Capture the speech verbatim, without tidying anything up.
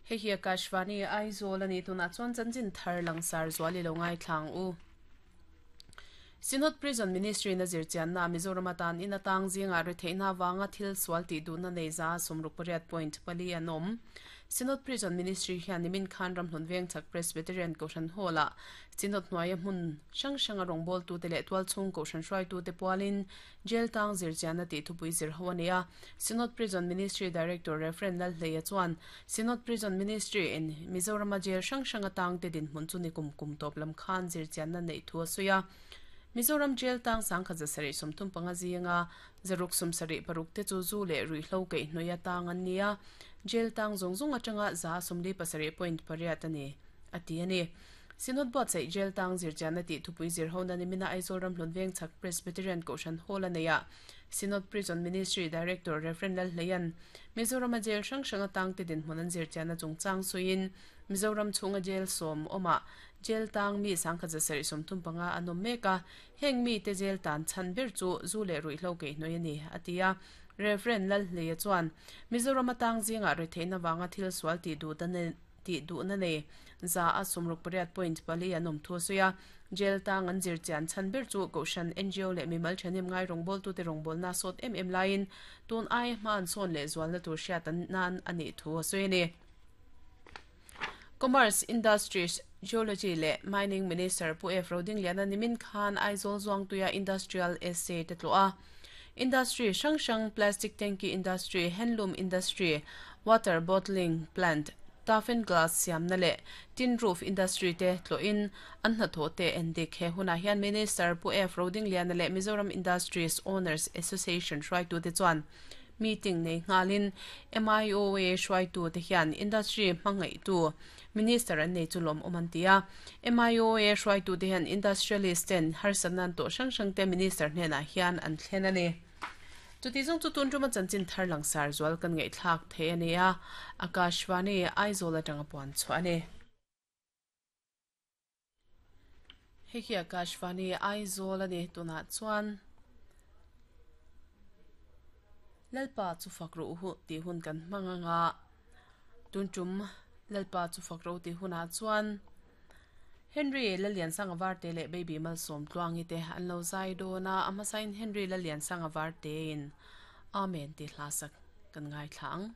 Hei hi Akashvani Aizawl ani tunah chuan chanchin thar langsar zual i lo ngaithlang u. Synod Prison Ministry na zirchianna Mizoram atan in atang zinga ri theihna wanga thil sual ti duhna nei za sumruk pariat point pali an awm. Synod Prison Ministry hian nimin khan Ramhlun Vengchhak Presbyterian Kohhran Hall ah Synod hnuaia hmun hrang hranga rawngbâwl tute leh tualchhung Kohhran hruaitute pualin jail tang zirchianna tih thupui zir ho a ni a. Synod Prison Ministry Director Reverend Lalhleia chuan Synod Prison Ministry in Mizorama jail hrang hrang atang te dinhmun chu ni kum kum tawp lam khan zirchianna neih thu a sawi a. Mizoram jail tang sangkhat za sarih sawmthum panga zinga zaruk sum sarih paruk te chu zu leh ruihhlo kaih hnuai atang an ni a. Jail tang zawng zawng atanga za sawmli pasarih point pariat a ni a ti a ni. Synod buatsaih jail tang zirchianna tih thupui zir ho na nimina Aizawl Ramhlun Vengchhak Presbyterian Kohhran Hall a nei a. Synod Prison Ministry Director Reverend Lalhleian Mizorama jail hrang hrang atang te dinhmun an zirchianna chungchang sawiin Mizoram chhunga jail sawm awmah jail tang mi sangkhat za sarih sawmthum panga an awm mek a. Heng mi te jail tan chhan ber chu zu leh ruihhlo kaih hnuai a ni a ti a. Reverend Lalhleia chuan Mizoram atang zinga ri theihna wanga thil sual ti duh ti duhna nei za a sumruk pariat point pali an awm thu a sawi a. Jail tang an zirchian chhan ber chu Kohhran N G O leh mimal ṭhahnem ngai rawngbâwl tute rawngbâwl na sawt em em laiin tun ai hma an sawn leh zualna tur hriat an nan a nih thu a sawi a ni. Commerce, Industries, Geology leh Mining Minister Pu F. Rodingliana nimin khan Aizawl Zuangtuia Industrial Estate te tluah a. Industry hrang hrang plastic tanki industry, handloom industry, water bottling plant, toughen glass siamna leh tin roof industry te tluahin an hnathawh te en dik. He hunah hian Minister Pu F. Rodingliana leh Mizoram Industries Owners Association hruaitu te chuan meeting nei nghalin M I O A hruaitu te hian industry hmangaihtu Minister an nei chu lawm awm an ti a. M I O A hruaitu te hian industrialist ten harsatna an tawh hrang hrang te Minister hnenah hian an thlen a ni. Chuti zawng chu tun tuma chanchin thar langsar zual kan ngaihthlak thei a ni a. Akashvani Aizawl atanga puan chhuah a ni. Hei hi Akashvani Aizawl a ni tunah chuan Lalpa chu fak ro hu tih hun kan hmang anga. Tun tum Lalpa chu fak ro tih hunah chuan Henry Lalliansanga Varte leh Baby Malsawm Tluangi te an lo zai dawn a. A hmasain Henry Lalliansanga Varte in Amen ti hla sak kan ngaithla ang.